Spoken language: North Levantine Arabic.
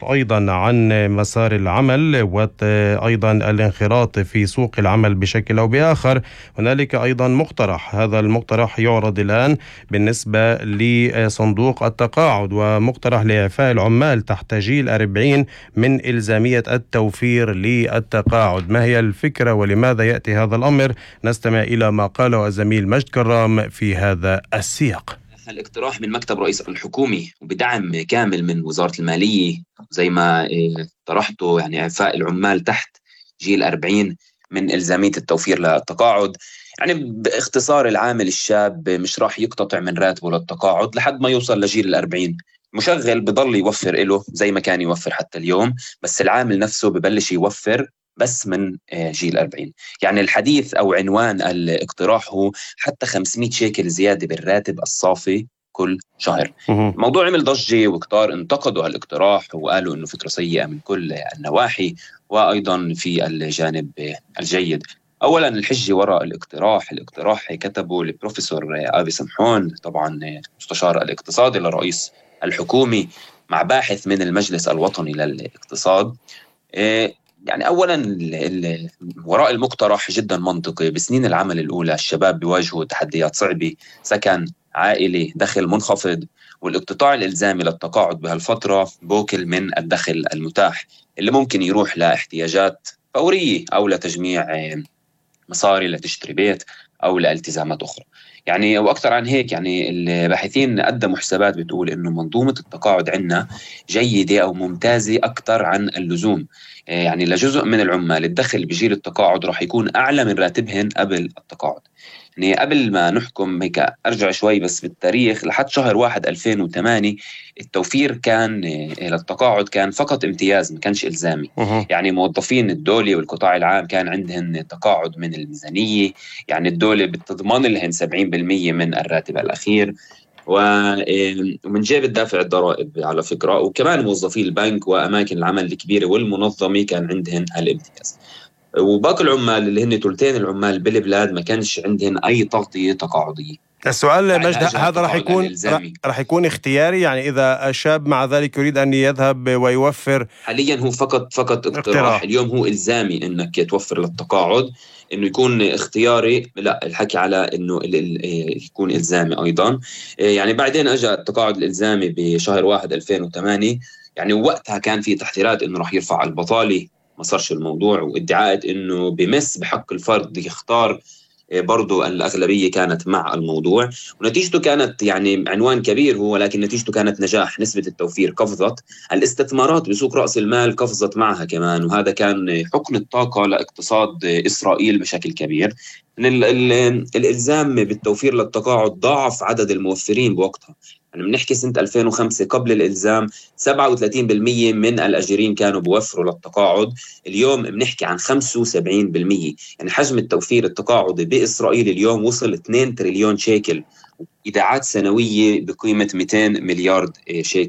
أيضا عن مسار العمل وأيضا الانخراط في سوق العمل بشكل أو بآخر. هنالك أيضا مقترح، هذا المقترح يعرض الآن بالنسبة لصندوق التقاعد، ومقترح لإعفاء العمال تحت جيل 40 من إلزامية التوفير للتقاعد. ما هي الفكرة ولماذا يأتي هذا الأمر؟ نستمع إلى ما قاله الزميل مجد كرام في هذا السياق. الاقتراح من مكتب رئيس الحكومة وبدعم كامل من وزارة المالية زي ما طرحته، يعني إعفاء العمال تحت جيل 40 من إلزامية التوفير للتقاعد. يعني باختصار العامل الشاب مش راح يقتطع من راتبه للتقاعد لحد ما يوصل لجيل 40. مشغل بضل يوفر له زي ما كان يوفر حتى اليوم، بس العامل نفسه ببلش يوفر بس من جيل 40. يعني الحديث أو عنوان الاقتراح هو حتى 500 شيكل زيادة بالراتب الصافي كل شهر. الموضوع عمل ضجة وكتار انتقدوا هالاقتراح وقالوا إنه فكرة سيئة من كل النواحي، وأيضا في الجانب الجيد. أولا الحجة وراء الاقتراح كتبه البروفيسور آبي سمحون، طبعا مستشار الاقتصادي لرئيس الحكومة مع باحث من المجلس الوطني للاقتصاد. يعني أولا وراء المقترح جدا منطقي. بسنين العمل الأولى الشباب بيواجهوا تحديات صعبة، سكن، عائلة، دخل منخفض، والاقتطاع الإلزامي للتقاعد بهالفترة بوكل من الدخل المتاح اللي ممكن يروح لاحتياجات فورية أو لتجميع مصاري لتشتري بيت أو لالتزامات أخرى. يعني وأكثر عن هيك، يعني الباحثين قدموا حسابات بتقول إنه منظومة التقاعد عندنا جيدة أو ممتازة أكثر عن اللزوم. يعني لجزء من العمال الدخل بجيل التقاعد راح يكون أعلى من راتبهن قبل التقاعد. يعني قبل ما نحكم هيك أرجع شوي بس بالتاريخ، لحد شهر 1 2008 التوفير كان للتقاعد كان فقط امتياز، ما كانش إلزامي. يعني موظفين الدولة والقطاع العام كان عندهن تقاعد من الميزانية، يعني الدولة بتضمن لهن 70% من الراتب الأخير، ومن جيب الدافع الضرائب على فكرة. وكمان موظفي البنك وأماكن العمل الكبيرة والمنظمة كان عندهن هالامتياز. وباقي العمال اللي هن ثلثين العمال بالبلاد ما كانش عندهن أي تغطية تقاعدية. السؤال مجد، هذا راح يكون اختياري؟ يعني إذا الشاب مع ذلك يريد أن يذهب ويوفر. حاليا هو فقط اقتراح. اليوم هو إلزامي إنك توفر للتقاعد، إنه يكون اختياري لا، الحكي على إنه يكون إلزامي أيضا. يعني بعدين أجا التقاعد الإلزامي بشهر 1 2008. يعني وقتها كان في تحذيرات إنه راح يرفع البطالة، ما صارش الموضوع، وادعاءات إنه بمس بحق الفرد يختار، برضو الأغلبية كانت مع الموضوع. ونتيجته كانت يعني عنوان كبير هو، لكن نتيجته كانت نجاح. نسبة التوفير قفزت، الاستثمارات بسوق رأس المال قفزت معها كمان، وهذا كان حقن الطاقة لاقتصاد إسرائيل بشكل كبير. الإلزام بالتوفير للتقاعد ضاعف عدد الموفرين بوقتها. يعني بنحكي سنة 2005 قبل الإلزام 37% من الأجيرين كانوا بيوفروا للتقاعد، اليوم بنحكي عن 75%. يعني حجم التوفير التقاعدي بإسرائيل اليوم وصل 2 تريليون شيكل، إيداعات سنوية بقيمة 200 مليار شيكل.